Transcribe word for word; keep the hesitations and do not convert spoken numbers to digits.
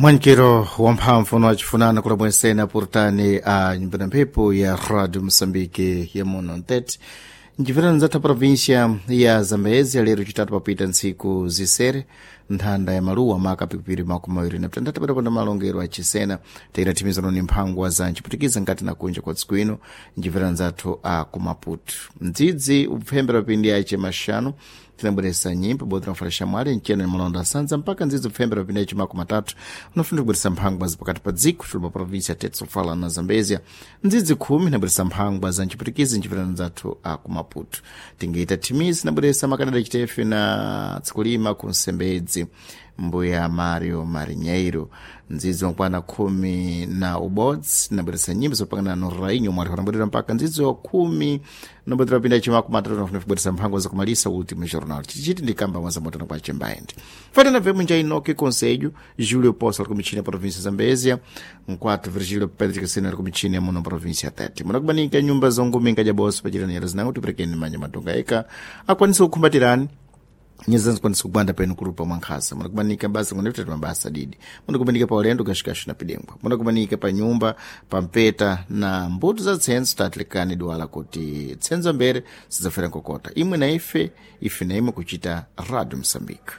Mwankiro wamphamvu wachifunana kula mwensena purtani a nyumba na mphepo ya Radio Mosambike ya muno ntete njipitano zatha província ya Zambezia. Lero chitatu papita ntsiku zisere nthanda ya maluwa maka pikipiri makumi mawiri na mtandatu padaponda malongero achisena taita thimizano ni mphangwa za nchiputikiza nkati na kunja kwa tsiku ino njipitano zathu a kumaputu mdzidzi upfembera pindi ache maxanu tinabweresa nyimbo bodzi tinafala xamwali mchena ni malonda asanza mpaka ndzidzi upfembera pindi ache makumi matatu unafuna kubweresa mphangwa za pakati pa dziko tuluma província tete sofala na Zambezia. Ndzidzi khumi inabweresa mphangwa za nchiputikizi njipitano zathu a kumaputu tingaita thimizi inabweresa makanada chitefe na tsikulima ku nsembedzi mbuya Mario Marinheiro. Ndzidzi wakwana khumi na ubodzi nabweresa nyimbo zopangana no rainho mwati wanabwerera mpaka ndzidzi wa khumi nobwetera pinda chimaku matatu nafuna kubweresa mphango zakumalisa último jornal chichiti ndikamba mwazamotana kwa chimbaende fatana vemu njainoke conselho Júlio Poça ali kumichini ya província Zambésia, nkwatu Virgílio Pedro Cassino ali kumichini ya muno província ya Tete. Munakubanika nyumba zonguminga jaboso pachirani yera zinango tiperekeni manja matonga eka akwanisa kukhumbatirani nyeza zikwanisa kubanda penu kurupa mwankhasa. Munakubanika basa kunepetatu mabasa didi, munakubanika pa ulendo kashikashu na pidengwa, munakubanika pa nyumba pa mpeta na mbuto za tsenso. Tatilikani duwala kuti tsenzo mbere sidzafera nkokota imwe na ife, ife na imwe kuchita Radio Mosambike.